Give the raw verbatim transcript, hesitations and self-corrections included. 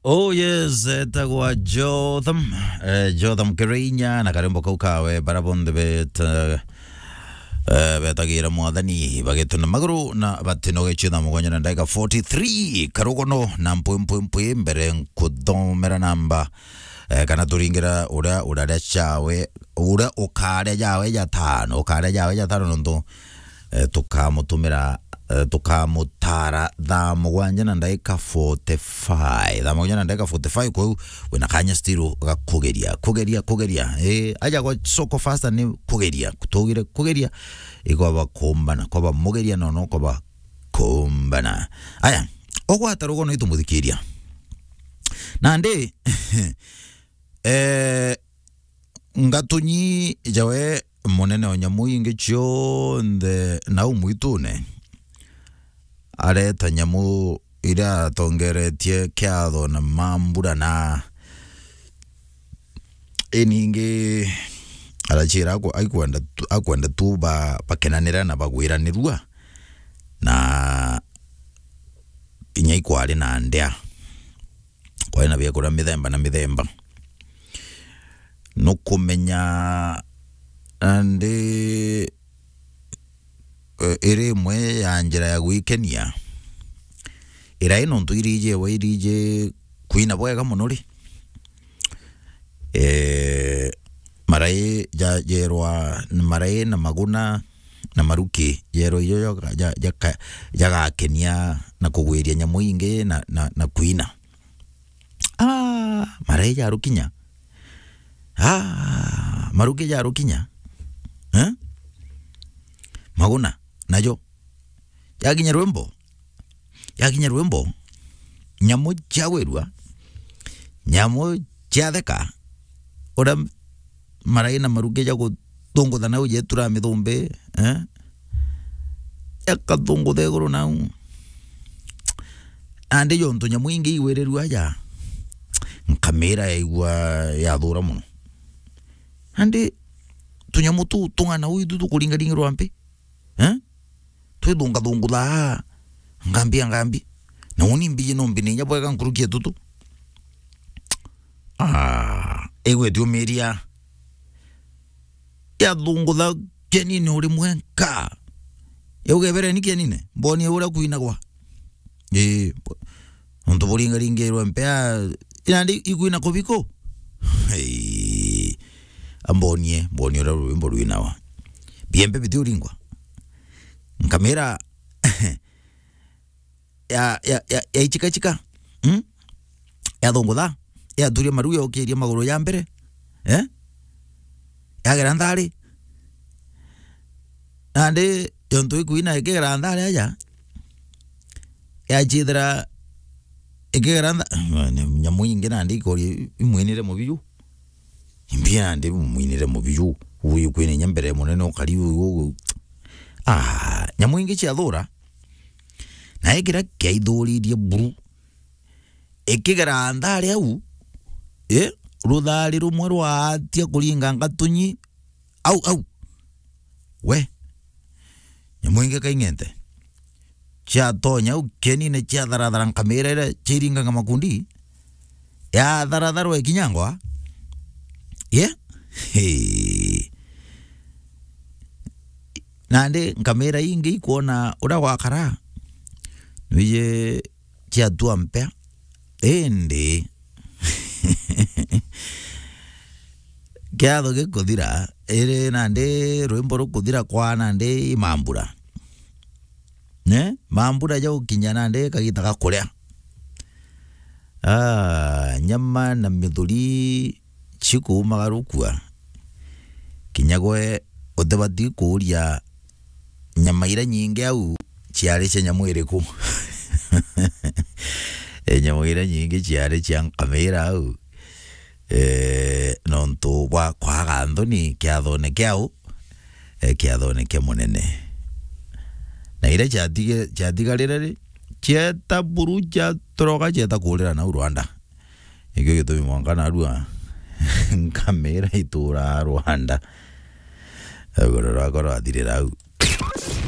Oh yes, etagwa Jotham, eh, Jotham Kirinya na karembo kau kawe bara bonthe bet, eh, eh, betagira mwathani bagitwe na maguru na batinogecio thaa mugwanja na ndagika forty-three karugono na mpwi mpwi mpwi mbere nkuthomera namba, eh, kana turingira uria uraria chawe, uria ukaria jawe jatano, ukaria jawe jatano nontu eh, tukamutumira, eh, tukamutara thaa mugwanja na ndagika forty-five. Thaa mugwanja na ndagika forty-five, kwou wina kanya still ga kugeria, kugeria, kugeria. Eh, aja gwa soko faster ni kugeria, tugire kugeria, ikwaba kumbana, kwaba mugeria nono, kwaba kumbana. Aya, ogwata rugono itumuthikiria. Nandi, eh, Ngatunyi jawe munene o nyamu ingi cionthe nau mwitune, areta nyamu iria atongeretie kiatho na mambura na iningi arachira aku-, aikwenda tu, akwenda tu ba, bakenanira na bagwiranirua na inya ikwari na ndea. Kwari na biakuria mithemba na mithemba. Nukumenya nandi, eh, iri imwe ya njira ya gwikenia. Irai nontu iriji ewe iriji kwina bwega mono ri. Eh, marai ja-, jerwa, marai na maguna na maruki, jerwa ijo jaka-, ja-, jaka-, jagakenia na kugwiria nyamu ingi na, na, na kwina. Ah, marai jarukinya. Ah, maruki jarukinya. Eh? Maguna, najo. Yakinya rwimbo. Yakinya rwimbo. Nyamu ciagwirua. Nyamu ciatheka. Uria marai na maruki ja guthungutha nau jetura mithumbi, eh? Jakathungutha iguru nau. Nandi jontu nyamu ingi igwirirua aja, nkamira yaigua yathura mono. Nandi tunyamu tu tung'ana uu itu tukuringaringirwa mpi? Eh? Twithungathunguthaa ngambi ya ngambi. Na uni mbiji no mbine inya bwega nkuruki ya tutu. Ah, igwe tiumiria. Yathungutha kienine uri mwenka. Yauga, "Ebereni kienine, mbonie uria kwinagwa." Ii, nontu buringaringirwe mpea, nandi ikwina kubiku? Ii, ambonie, mbonie uria rwimbo rwinawa. Biembe bitiuringwa. Nkamira, ya, ya, ya, yaichikachika. Mm? Yathungutha, yaturia maru, yokiria maguru ya mbere. Eh? Yagera nthari. Nandi yontu ikwina ikigera nthari aja, yachithira ikigera ntha-, nyamu ingi nandi ikoria imwinire mubiu. Imbi nandi mwinire mubiu. Uyu kwina inya mbere munene ukari uyu. Ah, nyamu ingi ciathura. Na ikira kiaithuririe buru. Ikigera nthari au, eh, ruthari rumwe rwatia kuringa ngatunyi, au, au. We, nyamu ingi kaing'ente. Ciatonya au kienine ciatharathara nkamira iria ciiringaga makundi, yatharatharwa ikinyangwa. Ye? Hey. Nandi nkamira ingi ikwona uria gwakara. Nwiji ciatua mpea. Indi kiatho gikuthira, iri nandi rwimbo rukuthira kwa nandi i mambura. Ne? Mambura jaukinya nandi kagita ga kuria. Ah, nyama na mithuri cikuumaga rukua. Kinya gwe utibati kuuria nyama iria nyingi au ciari cia nyamu iriku. E, nyama iria nyingi ciari cia nkamira au. E, nontu bwa kwaga nthoni kiathone kiau, e, kiathone kia munene. Na iria ciatige-, ciatigarire ri, cieta buru, ciatoroka, cieta kuurira nau Rwanda. Nikio gitumi mwanka narua nkamira ituraa Rwanda. Ruguru rwakwa rwathirira au.